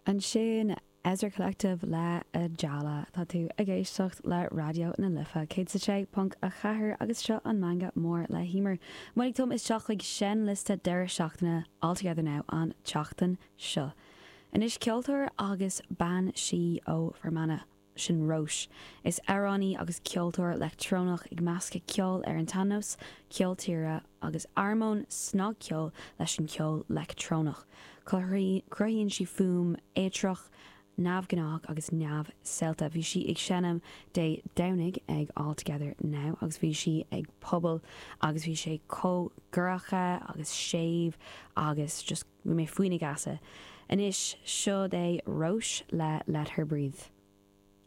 Ansin Ezra Collective le Ajala. Tá tú ag éisteacht le Raidió na Life 106.4 agus seo an Meangadh Mór le hEmer. Muid ag tumadh isteach chuig seinnliosta deireadh seachtaine All Together Now an tseachtain seo. Anois ceoltóir agus bean sí ó Fermanagh. Sin Róis. Is amhránaí agus ceoltóir leictreonach ag meascadh ceol ar an tsean-nós, ceol tíre agus armóin snagcheoil leis an cheol leictreonach. Cruthaíonn sí fuaim éitreach, neamhghnách agus neamhshaolta. Bhí sí ag seinm Dé Domhnaigh ag All Together Now agus bhí sí ag puball agus bhí sé chomh dorcha agus séimh agus just bhí mé faoina geasa. Anois, seod é Róis le Let Her Breathe.